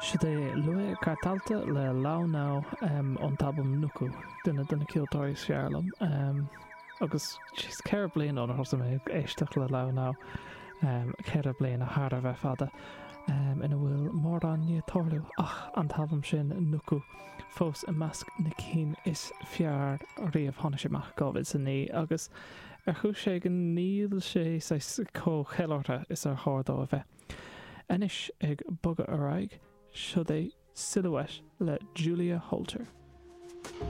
Siod é Lué Kartalta le Lau Nau ón t-albam Nuku, duine de na ceoltóirí is fearr liom. Agus jeez, 4 bliana ónar thosaigh mé ag éisteacht le Lau Nau, 4 bliana thar a bheith fada, ina bhfuil mórán ní ag tarlú ach an t-albam sin, Nuku, fós i measc na cinn is fearr riamh. Tháinig sé amach i 2009 agus ar chúis éigin níl sé saghas chomh ceiliúrtha is ar chóir dó a bheith. Anois ag bogadh ar aghaidh, siod é Silhouette le Julia Holter.